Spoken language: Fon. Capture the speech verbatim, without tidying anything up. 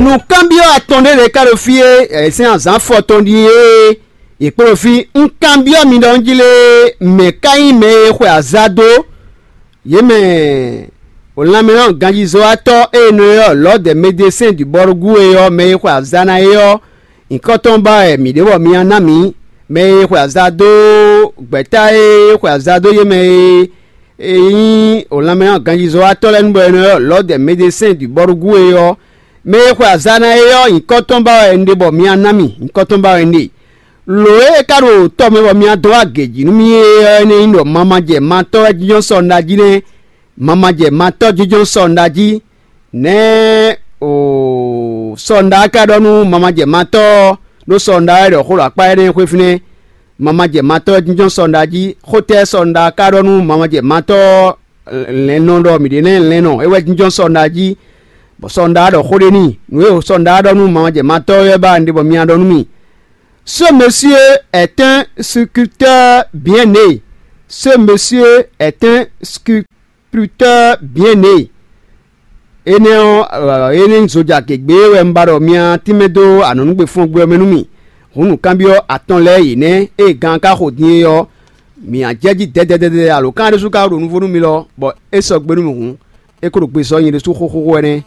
Nǔkanbyɔ́ atɔn ɖé lɛ́ɛ ka ɖo fí e sɛ́n azǎn fɔ tɔn ɖíe é. Yě kpo ɖo fí. Un kanbyɔ́ mi ɖɔ un jí lé, mɛ̌ ka nyí mɛ e xwe azǎn dó? Yě mɛ wǒnlanmɛnɔ ganjízɔ́watɔ́ e è nɔ ylɔ́ Lɔ̌dɛ Medesɛ́n Dubɔ́rúgú é ɔ́, mɛ e xwe azǎn ná é ɔ́, nyǐkɔ tɔn ba wɛ mǐ ɖe bɔ mi ná ná mǐ. Mɛ e xwe azǎn dó gbɛ̌ta e xwe azǎn dó yě mɛ e e nyí wǒnlanmɛnɔ ganjízɔ́watɔ́ lɛ́ɛ nu bɔ è nɔ ylɔ́ Lɔ̌dɛ Medesɛ́n Dubɔ́rúgú é ɔ́, mɛ e xwe azǎn ná é ɔ́, nyǐkɔ tɔn ba wɛ un ɖe bɔ mi ná ná mì, nyǐkɔ tɔn ba wɛ un ɖe. Lǒ e é ka ɖo tɔ mɛ bɔ mi ná dó wá gějí nú mì é ɔ́, énɛ́ nyí ɖɔ mamajɛ matɔ́ wɛ jínjɔ́n sɔ́ un ɖa jí nɛ́. Mamajɛ matɔ́ jínjɔ́n sɔ́ un ɖa jí. Nɛ̌ o sɔ́ un ɖa ka ɖɔ nú mamajɛ matɔ́ ɔ́, ɖó sɔ́ un ɖa wɛ ɖɔ xó ɖo akpá énɛ́ xwé fínɛ́. Mamajɛ matɔ́ wɛ jínjɔ́n sɔ́ un ɖa jí. Xótɛ́ sɔ́ un ɖa ka ɖɔ nú mamajɛ matɔ́ ɔ́, lɛ̌nnɔ ɖɔ mǐ ɖe nɛ́ lɛ̌nnɔ é wɛ jínjɔ́n sɔ́ un ɖa jí, bɔ sɔ́ un ɖa ɖɔ xó ɖé n'i. Nǔ e sɔ́ un ɖa ɖɔ nú mamajɛ matɔ́ ɔ́ wɛ ba un ɖe bɔ mi ná ɖɔ nú mì. Ce monsieur est un sculpteur bien né. Ce monsieur est un sculpteur bien né. Énɛ́ ɔ́, énɛ́ nyí zoja gěgbe wɛ un ba ɖɔ mi ná tínmɛ dó anɔ̌nugbe fɔ́n gbe ɔ́ mɛ nú mì. Hǔn nǔkanbyɔ́ atɔn lɛ́ɛ yě nɛ́ e gan ka xo din é ɔ́, mǐ ná jɛ jí dɛdɛdɛdɛ alo kan ɖésú ka ɖo nuvo nú mi lɔ, bɔ é sɔgbe nú mì hǔn, é ko ɖo gbe zɔ nyɛ ɖésú xóxóxó wɛ nɛ́.